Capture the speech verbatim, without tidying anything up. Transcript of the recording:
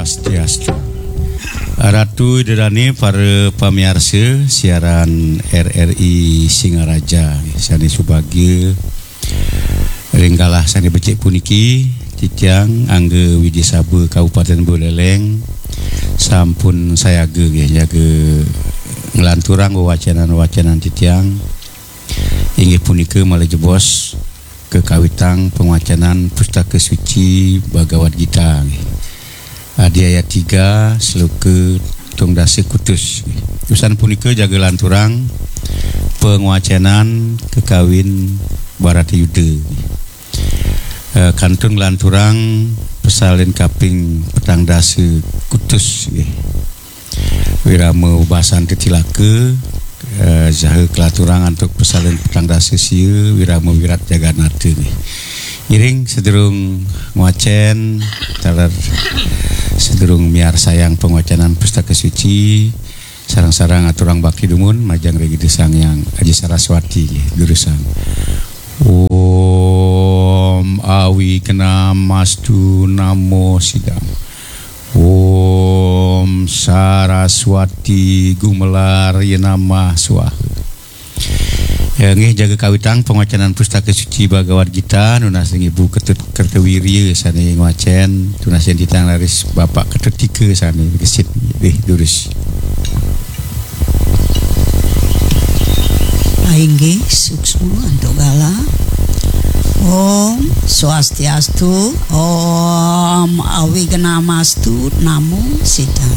Swastiastu. Ratu Ida Dane, para pamiarsa siaran R R I Singaraja, sane subagia, ring galah sane becik puniki, titiang Angga Widya Saba Kabupaten Buleleng sampun sayaga nggih, jaga nglanturang wewacenan-wewacenan titiang, inggih punika malih jebos kekawitang pangwacenan Pustaka Suci Bhagavad Gita nggih. Adi ayat tiga, sloka tungdasa kutus. Usan punika jaga lanturang pangwacenan kekawin Baratayuda. Eh, kantun lanturang pasalin kaping petang dasa kutus nggih. Wirama basan tetilaka, eh, jaga kalaturang antuk pasalin petang dasa sia, wirama wirat jaganata nggih. Ngiring sedurung ngwacen, taler sedurung miarsayang pangwacenan Pustaka Suci, sareng-sareng aturang bakti dumun majeng ring Ida Sang Hyang Aji Saraswati nggih, durusang. Om Awignamastu Namo Sidam. Om Saraswati Gumelar Yenamah Swaha. Ya, nggih, jaga kawitang pangwacenan Pustaka Suci Bhagavad Gita, nunas ring Ibu Ketut Kertawirya sane ngwacen, tunas yen titiang raris Bapak Ketut Tika sane gesit nggih, durus. Inggih, suksma antuk galah. Om Swastiastu, Om Awignamastu Namo Sidam.